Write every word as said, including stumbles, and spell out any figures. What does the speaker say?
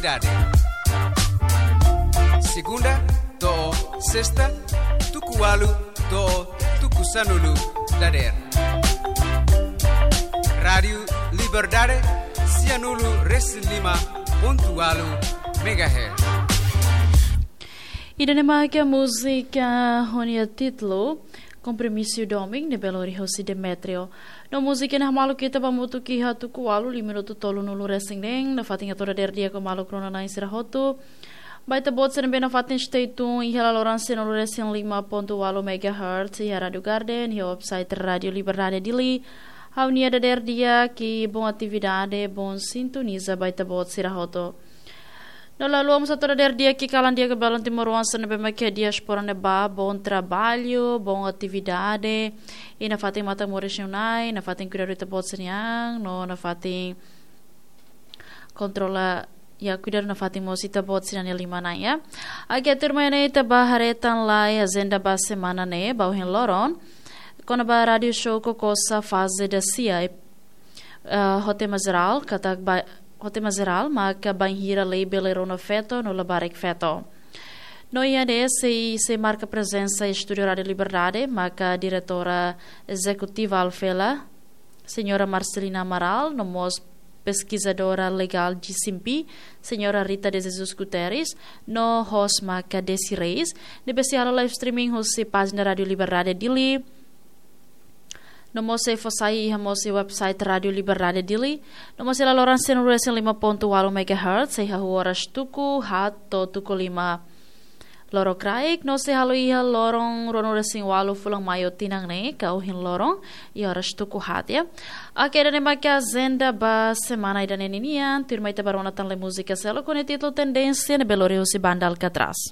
Dade. Segunda to'o sesta, tuku ualu to'o tuku sanulu dadeer. Rádiu Liberdade, sianulu resin lima pontu ualu megahertz. Ida-ne'e maka múzika ho nia títulu Kompromisu Domin, ne'ebé lori hosi Demetrio. No múzika ne'e hamaluk ita ba hamutuk iha tuku ualu, lima minutu tolunulu resin neen, nafatin atu dadeer di'ak ho maluk rona-na'in sira hotu. Ba ita-boot sira ne'ebé nafatin stay tune iha laloran sianulu resin lima pontu ualu megahertz iha Rádiu Garden, iha website Rádiu Liberdade Dili. Ha'u-nia dadeer di'ak i bom atividade, bom sintoniza ba ita-boot sira hotu. No lalu, ha'u mós atu dadeer di'ak i kalan di'ak ba belun timoroan sira ne'ebé mak iha diáspora ne'ebá, bom trabalho, bom atividade. I nafatin matan moris nia na'in, nafatin kuidadu ita-boot sira-nia an, no nafatin kontrola, ya, kuidadu nafatin mós ita-boot sira-nia liman an, ya. Agora tuirmai ne'e ita bá haree tan lai ajenda ba semana ne'e, ba ohin loron. Kona-ba rádiu show Kokosa faze dasia, eh, ho tema jerál, katak ba, ho tema jerál, maka bainhira lei bele rona feto no labarik feto. No iha ne'e sei, sei marka prezensa estúdiu Rádiu Liberdade, maka diretora ezekutiva Alfela, señora Marcelina Amaral, no mós peskizadora legál G C M P, señora Rita de Jesus Guterres, no host maka Desi Reis, ne'ebé sei halo live streaming husi pájina Rádiu Liberdade Dili, no mós sei fó sai iha mós iha website Rádiu Liberdade Dili, no mós iha laloran sianulu resin lima pontu ualu megahertz, sei hahú oras tuku haat to'o tuku lima lorokraik, no sei halo iha loron ruanulu resin ualu fulan Maiu tinan ne'e, ka ohin loron, iha oras tuku haat, ya. Oke, ida-ne'e maka ajenda ba semana ida-ne'e ninian, tuirmai ita bá rona tan lai múzika seluk ho nia títulu Tendénsia, ne'ebé lori husi banda Alcatraz.